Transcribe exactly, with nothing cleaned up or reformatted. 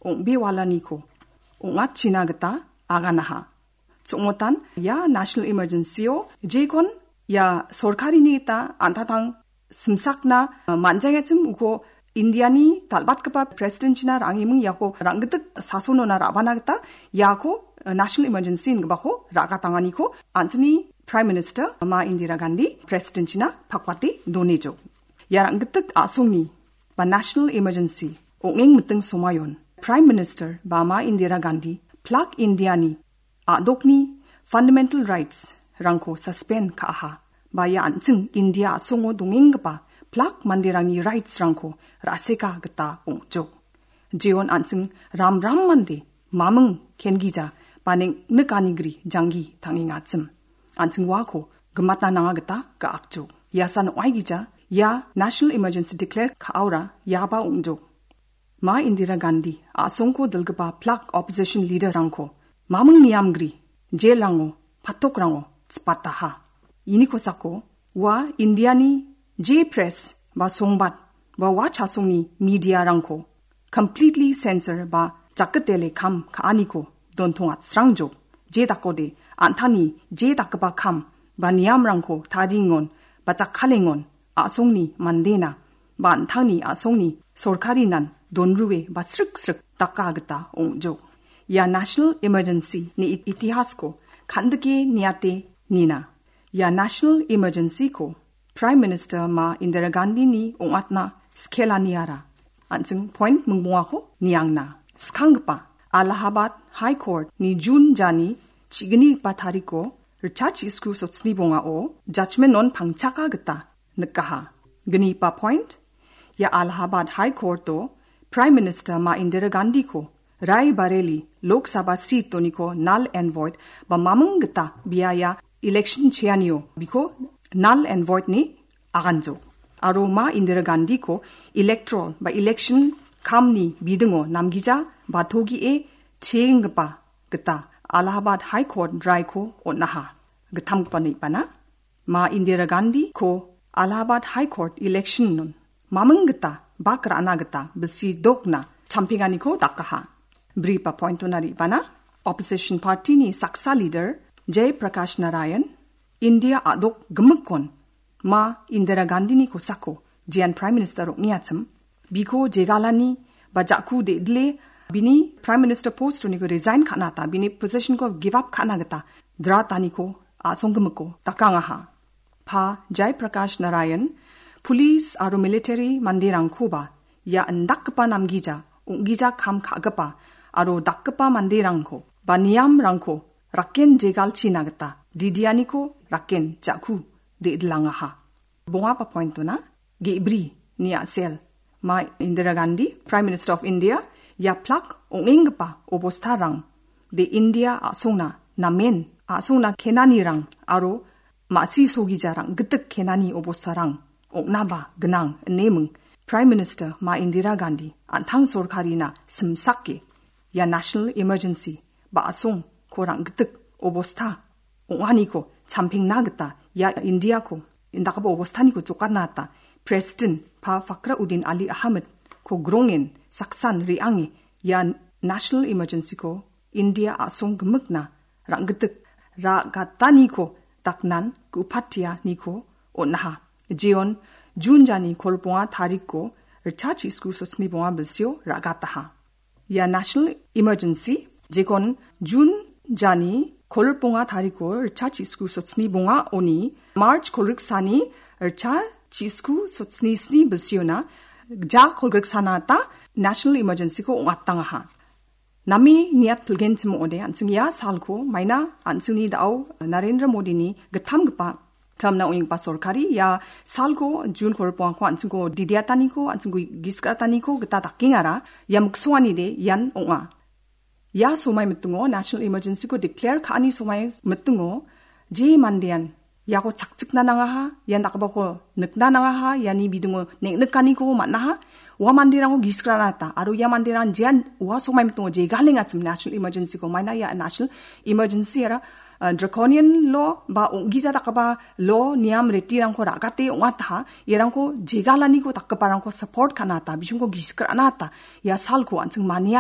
ong·bewalaniko ong·atchina gita aganaha. Chongmotan ia National Emergency-o jekon ia sorkarini gita an·tangtang simsakna, eh, man·jangachim uko Indiani dal·batgipa President-china ra·angiming iako rang·gitik sasonona ra·bana gita iako, eh, National Emergency inggipako ra·gatanganiko an·chingni Prime Minister Ma Indira Gandhi President-china pakwate donejok. Ia rang·gitik a·songni ba National Emergency ong·eng miting somayon Prime Minister ba Ma Indira Gandhi plak Indiani a·dokni fundamental rights-rangko suspend ka·aha. Ba ia an·ching India a·songo dongenggipa plak manderangni rights-rangko ra·seka gita ong·jok. Jeon an·ching ramram mande maming kengija ba neng·nikanigri janggi tangengachim. An·ching uako gimatna nanga gita ga·akjok. Iasan ong·aigija ia National Emergency declare ka·aora iaba ong·jok. Ma Indira Gandhi a·songko dilgipa plak opposition leader-rangko maming niamgri, jail-rango, patokrango chipataha. Ini kosako ua Indiani je press ba songbat ba ua chasongni media-rangko completely censor ba jakgitele kam ka·aniko dontongatsrangjok. Je dakode an·tangni je dakgipa kam ba niamrangko tariengon ba jakkalengon a·songni mandena ba an·tangni a·songni sorkarinan donrue ba srik-srik daka gita ong·jok. Ia National Emergency-ni it-, itihasko kan·dike niate nina. Ia National Emergency-ko Prime Minister Ma Indira Gandhi-ni ong·atna skelaniara. An·ching point mingbongako niangna. Skanggipa Allahabad High Court-ni June jani chignigipa tariko ritchasku sotsni bongao judgment-on pangchaka gita nikaha. Gnipa point, ia Allahabad High Court-o Prime Minister Ma Indira Gandhi-ko Rae Bareli Lok Sabha seat-oniko null and void ba maming gita bia ia election cheanio biko null and void-ni aganjok. Aro Ma Indira Gandhi-ko electoral ba election kamni bidingo namgija ba togie cheenggipa gita Allahabad High Court raiko on·aha. Gittamgipa nibana. Ma Indira Gandhi-ko Allahabad High Court election-on maming gita bak ra·na gita bilsi dokna champenganiko dakaha. Briba point-ona ribana, opposition party-ni saksa leader Jay Prakash Narayan, India a·dok gimikkon Ma Indira Gandhi-ni kosako jean Prime Minister ong·eachim, biko jegalani ba ja·ku de·dile bini Prime Minister post-oniko resign ka·na gita, bini position-ko give up ka·na gita drataniko a·songgimiko dakangaha. Pa Jai Prakash Narayan, police aro military manderangkoba ia indakgipa namgija, ong·gija kam ka·gipa aro dakgipa manderangko ba niamrangko raken jegalchina gita didianiko raken ja·ku de·dilangaha. Bongaba point-ona ge·bri ni a·sel Ma Indira Gandhi, Prime Minister of India, ia plak ong·enggipa obostarang de India a·songna namen a·songna kenanirang aro ma·si sogija rang·gitik kenani obostarang ong·naba gnang ineming Prime Minister Ma Indira Gandhi an·tang sorkarina simsake ia national emergency ba a·songko rang·gitik obosta ong·aniko champengna gita ia Indiako indakgipa obostaniko jokatna gita President Pa Fakhruddin Ali Ahmedko grongen saksan re·ange ia national emergencyko India a·song gimikna rang·gitik ra·gataniko daknan gu·patianiko on·aha. Jeon June jani kolbonga tarikko ritchasku sotsni bonga bilsio ra·gataha. Ia national emergency jekon June jani kolbonga tarikko ritchasku sotsni bonga oni March kolriksani ritchasku sotsni sni bilsiona ja kolgriksana ta national emergencyko ong·atangaha. Name niat pilgenchim ong·ode, an·ching ia salko maina an·chingni da·o Narendra Modini gittamgipa termna ong·enggipa sorkari ia salko June kolbongako an·chingko didiataniko, an·chingko gisgrataniko gita dakengara ia miksonganide ian ong·a. Ia somai mitingo national emergencyko declare ka·ani somai mitingo je mandean iako chakchikna nangaha, ian dakgipako nikna nangaha, iani bidingo neng·nikaniko man·aha, ua manderango gisgrana gita, aro ia manderang jean ua somai mitingo jegalengachim national emergencyko maina ia national emergency ara, uh, draconian law ba ong·gija dakgipa law niam retirangko ra·gate ong·ataha, iarangko jegalaniko dakgiparangko support ka·na gita, bisingko gisgrana gita, ia salko an·ching mania